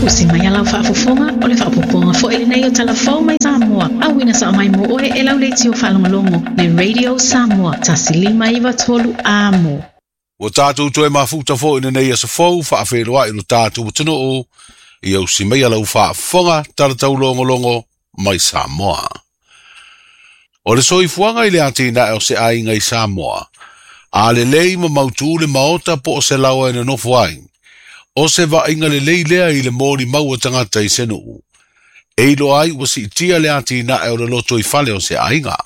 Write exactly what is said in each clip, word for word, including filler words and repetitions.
Usi mai alau faafofoga o le faapopoga foi lenei o talafou mai Samoa. Auina sa mai mo oe e lau leitio faalogologo le Radio Samoa tasi lima iva tolu amo. Ua tātou toe mafuta foi lenei aso fou faafeiloai lo tātou atunuu ia usi mai alau faafofoga talataulogologo mai Samoa. O le soifuaga i le atinae o se aiga i Samoa, a lelei ma mautū le maota po o se laoa e nonofo ai, o se vaaiga lelei lea i le molimau o tagata i se nuu. E iloa ai ua siitia le atinae o le loto i fale o se aiga.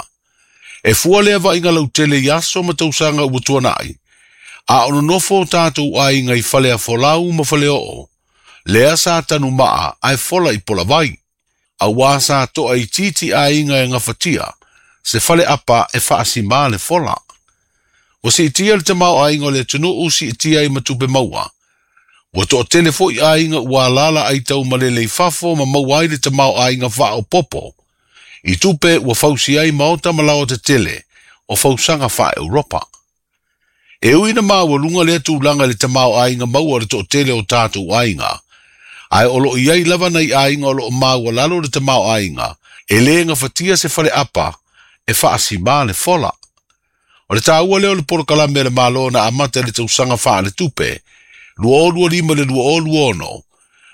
E fua lea vaaiga lautele i aso ma tausaga ua tuanai, a o nonofo o tātou aiga i fale afolau ma fale oo, lea sa tanumaa ae fola i polavai. Auā sa toa itiiti aiga e gafatia, se fale apa e faasimā le fola. Ua siitia le tamaoaiga o le atunuu siitia ai ma tupe maua. Ua toatele foi aiga ua alala ai taumalele i fafo ma maua ai le tamaoaiga faaopopo. I tupe ua fausi ai maota ma laoa tetele o fausaga faa-Europa. E ui na maualuga lea tulaga i le tamaoaiga maua o le toatele o tātou aiga. Ae o loo iai lava nai aiga o loo maualalo le tamaoaiga e lē gafatia se fale apa e faasimā le fola. O le tāua lea o le polokalame a le Malo na amata i le tausaga faaletupe lua o lua lima i le lua o lua ono,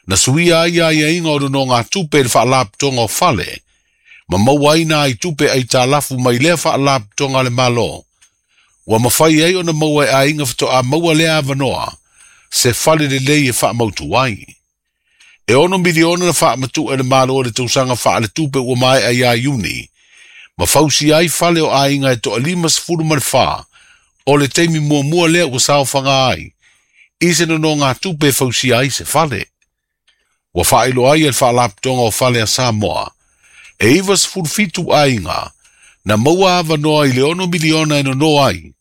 na suia ai aiaiga o nonogatupe i le faalapotoga o fale, ma maua ai nā i tupe aitalafu mai lea faalapotoga a le Malo. Ua mafai ai ona maua e aiga faatoa maua lea avanoa, se fale lelei e faamautu ai. E ono miliona na faamatuʻe e le Malo i le tausaga faaletupe ua maea ia Iuni, ma fausi ai fale o aiga e toalima sefulu ma le fā, o le taimi muamua lea ua saofaga ai, i se nonogatupe e fausia ai se fale. Ua faailoa ai e le faalapotoga o fale a Samoa, e iva sefulu fitu aiga, na maua avanoa i le ono miliona e nono ai,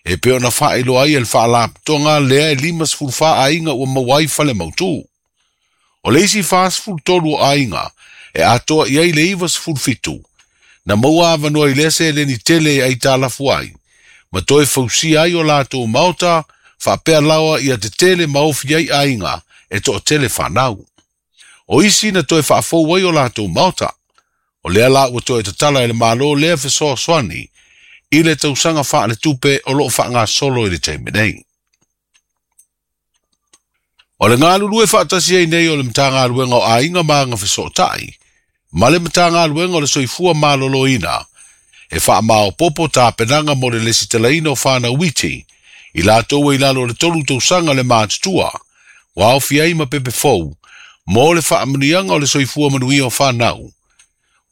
e pei ona faailoa ai e le faalapotoga lea e lima sefulu fā aiga ua maua ai fale mautū. O le isi fa sefulu tolu o aiga e atoa i ai le iva sefulu fitu, na maua avanoa i lea seleni tele e aitalafu ai, ma toe fausia ai o latou maota, faapea laoa ia tetele ma ofi ai aiga e toatele fanau. O isi na toe faafou ai o latou maota. O lea la ua toe tatala e le Malo lea fesoasoani i le tausaga faaletupe o loo faagasolo i le taimi nei. O le galulue faatasi ai nei o le Matagaluega o Aiga ma Agafesootai, ma le Matagaluega o le Soifua Maloloina, e faamaopopo tapenaga mo le lesitalaina o fanau iti, i latou e i lalo o le tolu tausaga le matutua, ua aofia ai ma pepe fou, mo le faamanuiaga o le soifua manuia o fanau.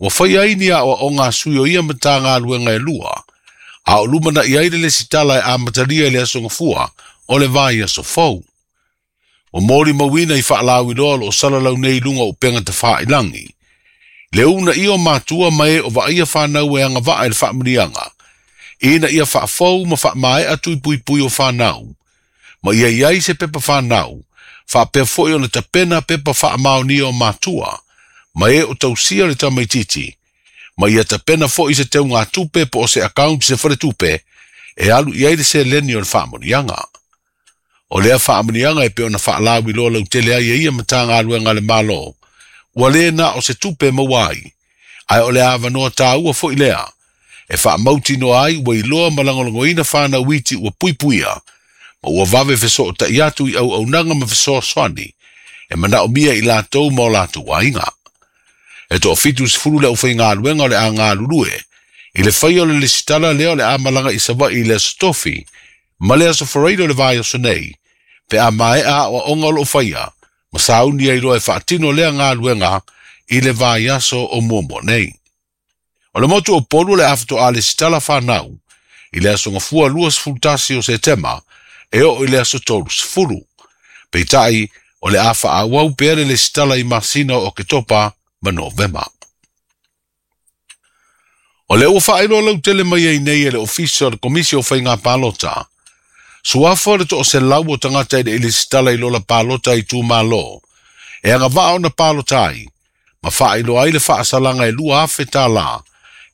Ua faia ai ni aoaoga a sui o ia Matagaluega e lua, a o lumanai ai le lesitala e amatalia i le aso Gafua o le vaiaso fou. Ua molimauina i faalauiloa o loo salalau nei i luga o upega tafailagi. Le uunaia o matua ma e o vaaia fanau e agavaa i le faamanuiaga, ina ia faafou ma faamaea tuipuipui o fanau, ma ia i ai se pepa fanau, faapea foi ona tapena pepa faamaonia o matua, ma e o tausia le tamaititi, ma ia tapena foi se teugatupe po o se account se faletupe, e alu i ai le seleni o le faamanuiaga. O lea faamanuiaga e pei ona faalauiloa lautele ai e ia Matagaluega a le Malo, ua le na o se tupe maua ai, ae o le avanoa tāua foi lea, e faamautinoa ai ua iloa ma lagolagoina fanau iti ua puipuia, ma ua vave fesootai atu i auaunaga ma fesoasoani, e manaomia i latou ma o latou aiga. E toafitu sefulu le aufaigaluega o le a galulue, i le faia o le lesitala lea o le a malaga i Savaii i le aso Tofi, ma le aso Faraile o le vaiaso nei, pe a maea aoaoga o loo faia, ma sauni ai loa e faatino lea galuega i le vaiaso o muamua nei. O le motu o Upolu o le a faatoa lesitala fanau, i le aso Gafua lua sefulu tasi o Setema, e oo i le aso tolu sefulu. Peitai, o le a faaauau pea le lesitala i masina o Oketopa ma Novema. O lea ua faailoa lautele mai ai nei e le Ofisa o le Komisi o Faiga Palota. Suafa o le toaselau o tagata e le i lesitala i lola palota i itumalo, e agavaa ona palota ai, ma faailoa ai le faasalaga e lua afe tālā,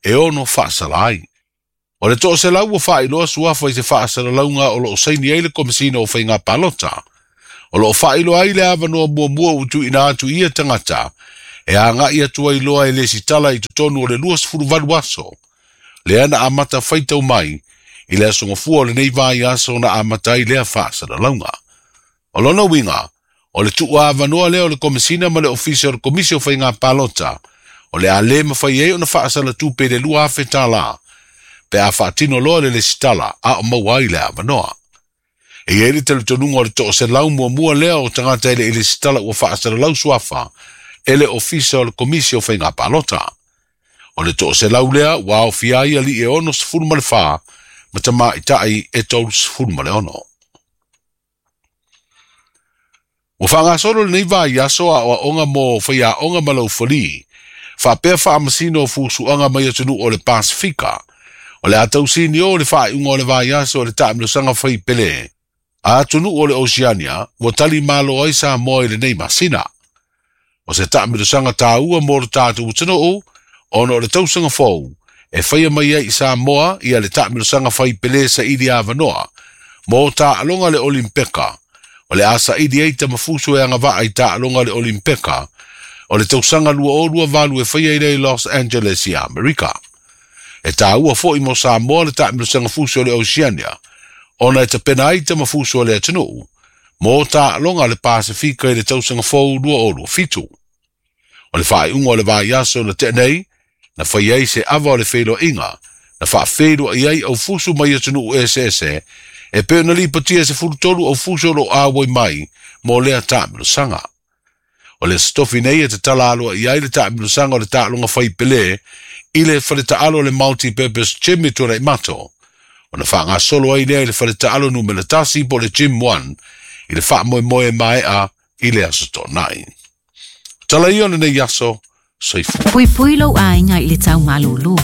e ono faasala ai. O le toaselau ua faailoa suafa i se faasalalauga o loo saini ai le Komesina o Faiga Palota. O loo faailoa ai le avanoa muamua ua tuuina atu i ia tagata e agai atu ai loa e lesitala i totonu o le luasefuluvalu aso lea na amata faitau mai i le aso gafua o lenei vaiaso na amata ai lea faasalalauga. O lona uiga, o le tuuavanoa lea o le Komesina ma le Ofisa o le Komisi o Faiga Palota, o le a lē mafai ai ona faasalatupe i le lua afe tālā, pe a faatino loa le lesitala a o maua ai le avanoa. E i ai le talitonuga o le toaselau muamua lea o tagata e le i lesitala ua faasalalau suafa e le Ofisa o le Komisi o Faiga Palota. O le toaselau lea ua aofia ai alii e onosefulu ma le fa ma tamaitai e tolusefulu ma le ono. Ua faagasolo lenei vaiaso aoaoga mo faiaoga ma laufalī, faapea faamasino o fusuaga mai atunuu o le Pasifika. O le a tausini o le faaiuga o le vaiaso o le taamilosaga faipelē a atunuu o le Oceania ua tali malo ai Samoa i lenei masina. O se taamilosaga tāua mo le tatou atunuu ona o le tausaga fou e faia mai ai i Samoa ia le taamilosaga faipelē saili avanoa mo taaloga le Olimpeka. O le a saili ai tamafuso e agavaa i taaloga le Olimpeka o le tausaga lua o lua valu e faia i le Los Angeles i Amerika. E tāua foi mo Samoa le taamilosaga fuso o le Oceania ona e tapena ai tamafuso o le atunuu mo taaloga le Pasifika i le tausaga fou lua o lua fitu. O le faaiuga o le vaiaso na tea nei, na fai ai se ava o le feiloaiga, na faafeiloai ai aufusu mai atunuu eseese, e pei ona lipotia sefulutolu aufuso o loo auai mai mo lea taamilosaga. O le aso nei e tatala aloaia ai le taamilosaga o le taaloga faipelē i le faletaalo o le Multi-Purpose Gym i Tuanaimato, ona faagasolo ai lea i le faletaalo numera tasi po o le Gym one i le faamoemoe maea i le aso Toonai. Tala ia o lenei aso, soifua. Puipui lou aiga i le taumalūlū,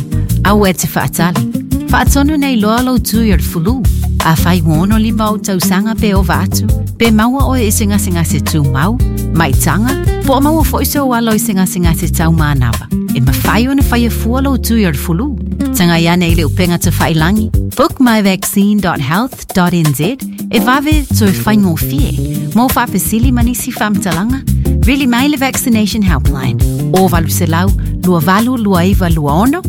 aua e te faatali. Faatonu nei loa lou tui o le fulu. Afai ua ono lima ou tausaga pe ova atu, pe maua oe i se gasegase tumau, maitaga, po o maua foi sou alo i se gasegase taumanava. E mafai ona faia fua lou tui o le fulu. Tagai ane i le upega tafailagi, book my vaccine dot health dot n z e vave toe faigofie. Mo faafesili ma nisi faamatalaga, vili mai le Vaccination Helpline o valu selau lua valu lua iva lua ono,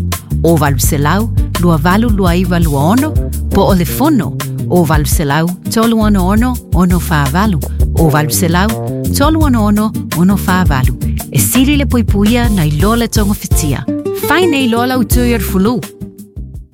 o valu selau lua valu lua iva lua ono, po o le fono o valu selau tolu ono ono ono whaavalu, o valu selau tolu ono ono ono whaavalu. E sili le puipuia nei loa le tonga fitia. Fai nei loa lau tui o le fulu.